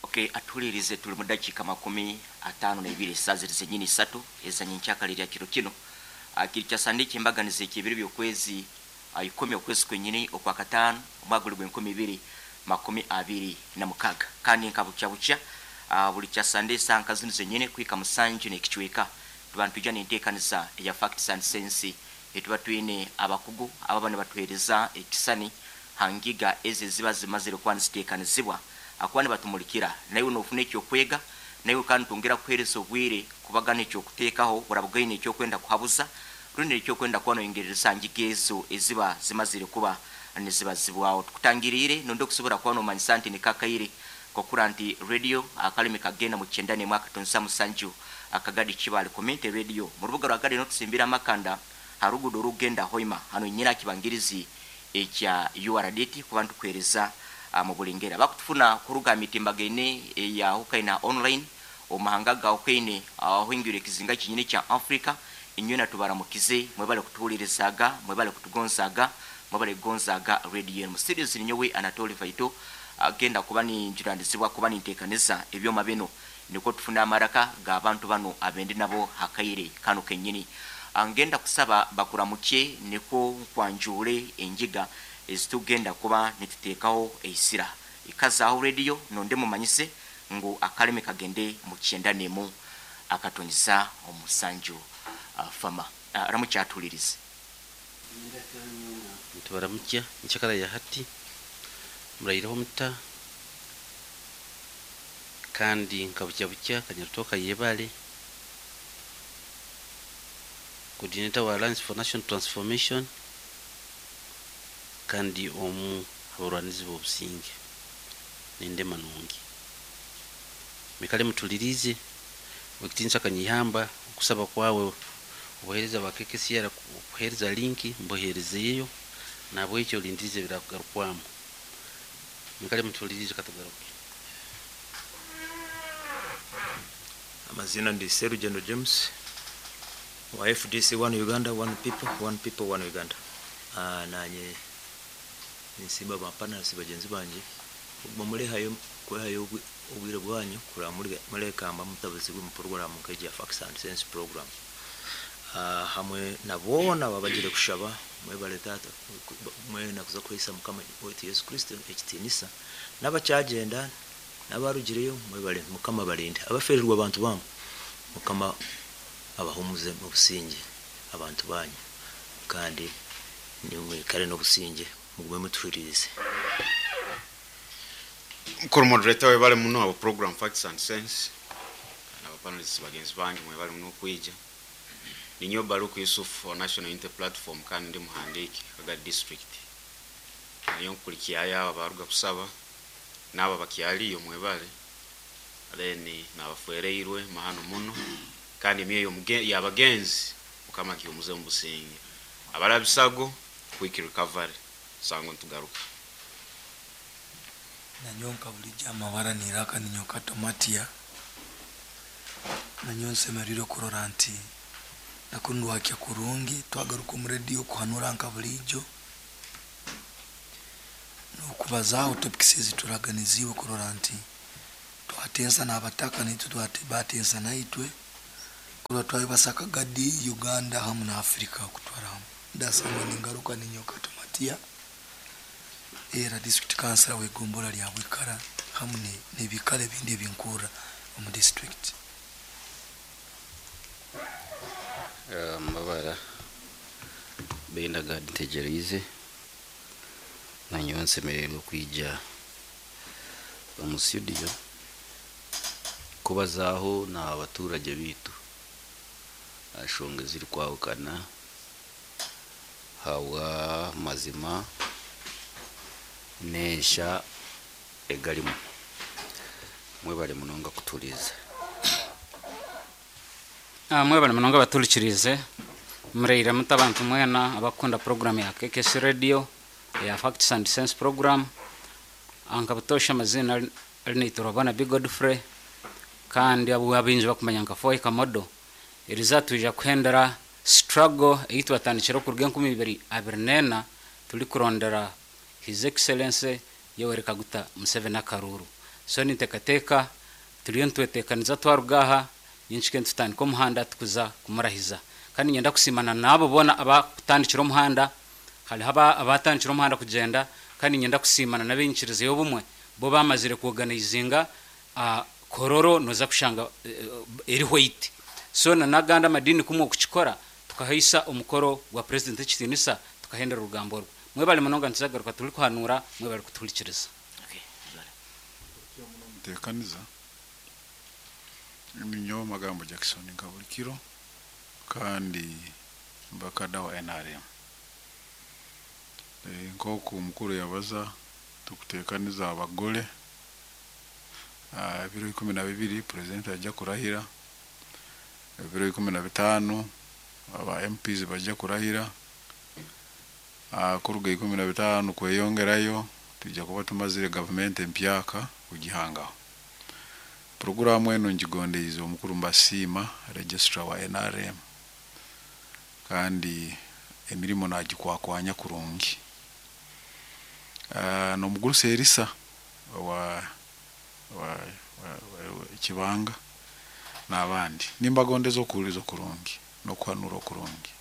Okay, atuhulirize tuli mu dakiika 52 esaaha ziri zenyini isatu eza nyenkyakara erya kiro kinu. Kiri kya Sande eky'embaganiza eky'ebiro by'okwezi ikumi okwezi kwenyini okwakataano omwaka guri gw'enkumi ibiri makumi abiri na mukaaga. Kandi nka bukya bukya buri kya Sande esaaha nka zinu zenyini kuhika musanju n'ekicweka tuba nitwija n'enteekaniza eya Facts and Sense eituba twine abakugu ababa nibatuheereza ekisani ha ngiga ezi eziba zimazire kuba niziteekanizibwa ahakuba nibatumurikira. Naiwe noofuna eky'okwega, naiwe kandi nitwongera kukuheereza obwire kubagana eky'okuteekaho orabuga oine eky'okwenda kuhabuza rundi eky'okwenda kuba noyongerereza aha ngiga ezo eziba zimazire kuba nizibazibwaho. Tukutangiriire nondi okusobora kuba nomanyisa nti niko akaire k'okura nti Radio akalimi kagenda mu 91.7 Akagadi Kibaale Community Radio mu rubuga rwa Gadi n'otusimbira amakanda ha ruguudo orukugenda Hoima hanu nyina aha kibangirizi ekya URDT kuba nitukuheereza mu buri ngeri. Abakutufuna kuruga aha mitimbagaine eyahukaine aha online omu mahanga agahukaine ahoingwire ekizinga kyenyini ekya Africa, inywena tubaramukize mwebale kutuhuririzaaga, mwebale kutugonzaaga, mwebale kugonzaaga radio enu. Mu studios ninyowe Anatoli Vaito agenda kuba ninjunanizibwa kuba ninteekaniza ebyoma binu nikwo tufune amaraka g'abantu banu abendi nabo ha kaire kanu kenyini. Ngenda kusaba bakuramukye nikwo nkwanjuure engiga ezitugenda kuba nituteekaho eisira. Ikazaaho rediyo nonde mumanyise ngu akalimi kagende mu 91.7 Fama. Ramukya atuhulirize. Nitubaramukya nkyakara ya hati, muraireho muta? Kandi nka bukya bukya Kanyarutooka yebare, Coordinator wa Alliance for National Transformation kandi omu habarwanizi b'obusinge n'endema nungi. Mwikare mutuliriize Owekitinisa Kanyeihamba okusaba kwawe obuhereza bwa KKCR kuhereza linki mbuherizeyo nahabwekyo olindirize ebirakugarukwamu. Mwikare mutuliriize katugaruke. Amazina ndi Serugendo James owa FDC One Uganda One People One People One Uganda. Nanye ninsiima ba panelists bagyenzi bangye okuguma murehayo kwehayo obwire bwanyu kureba murekamba mutabuzibwe omu puroguraamu nk'egi ya Facts and Sense program. Hamwe na boona ababagire kushaba mwebale taata mwena kuza kuhaisa mukama waitu Yesu Kristo ekitiinisa n'abakyagenda N'abarugireyo mwebare mukama abarinde abaferirwe abantu bamu mukama abahumuze mubusingye abantu banyu kandi nimwikare nobusingye mugume mutuhuririze. Mukuru Moderator webale muno aba program Facts and Sense na ba panelists bagenzi bange mwebale muno okwija. Ninyowe Baluku Yusuf wa National Unity Platform kandi ndi muhandiiki Kagadi District. Nanyowe nkukurikyayo abo abaruga kusaba Naabo abakyaliyo mwebale then nabafwereirwe mahano muno kandi emyoyo yabagenzi mukama agihumuze mubusinge abarabisago quick recovery sango nitugaruka. Nanyowe nka bulijo amabara niraka ninyowe Kato Matia, nanyowe nsemerire kurora nti nakunu ndwakya kurungi twagaruka omu radio kuhanura nka bulijo. N'okubazaaho topics ezituraganiziibwe kurora nti twatensa n'abataka naitwe batensa naitwe kurora twayebasa Kagadi, Uganda hamu na Africa okutwara hamu. Ndasangwa ningaruka ninyowe Kato Matia era district councillor w'egombolola lya Bwikara hamu n'ebiikaro ebindi ebinkurra omu district. Amabara Benda Gad Ntegyereize. Nanyowe nsemereirwe kwija omu studio kubazaaho n'abaturage baitu aha nshonga ezirikwahukana ahabwa amazima n'ensha egarimu. Mwebare munonga kutuhuriiriza. Mwebale munonga abatuhurikiriize. Muraire muta abantu mwena abakukunda puroguramu ya KKC Radio eya Facts and Sense program. Nka butoosha amaziina ari Naitwe Godfrey kandi abu abaingi bakumanya nka Foy Kamodo. Eriizooba twija kuhendera struggle ei twatandikire okuruga 2024 turikurondera His Excellency Yoweri Kaguta Museveni akaruuru. So ninteekateeka turiyo nitweteekaniza twaruga aha nyenkike nitutandika omuhanda tukuza kumurahiza. Kandi niinyenda kusiima na n'abo boona abakutandikire omuhanda, hariho abatandikire omuhanda kugyenda kandi niinyenda kusiima na n'ab'enyikiriza y'obumwe bo bamazire kuoganaizinga Kololo noza kushanga eri white. So na n'agandi amadiini kumwe okukikora tukahaisa omukoro gwa Purezidenti ekitiinisa tukahendera orugambo orwo. Mwebale munonga nituzagaruka turikuhanuura mwebale kutuhurikiriza. Mutekaniza ninyowe Magambo Jackson nka buli kiro kandi mbakada wa NRM. Nk'oku omukuru yabaza tukutekaniza abagole ebiro 12 Purezidenti ajja kurahira, ebiro 15 aba MPs bajja kurahira, kuruga 15 kweyongerayo twija kuba tumazire gavumenti empyaka kugihangaho. Puroguraamu enu ngigondeize omukuru mbasiima registrar wa NRM kandi emirimo nagikwakwanya kurungi. N'omugurusi Erisa owa Kibanga n'abandi nimbagondeza okuhuririza okurungi n'okuhanura okurungi.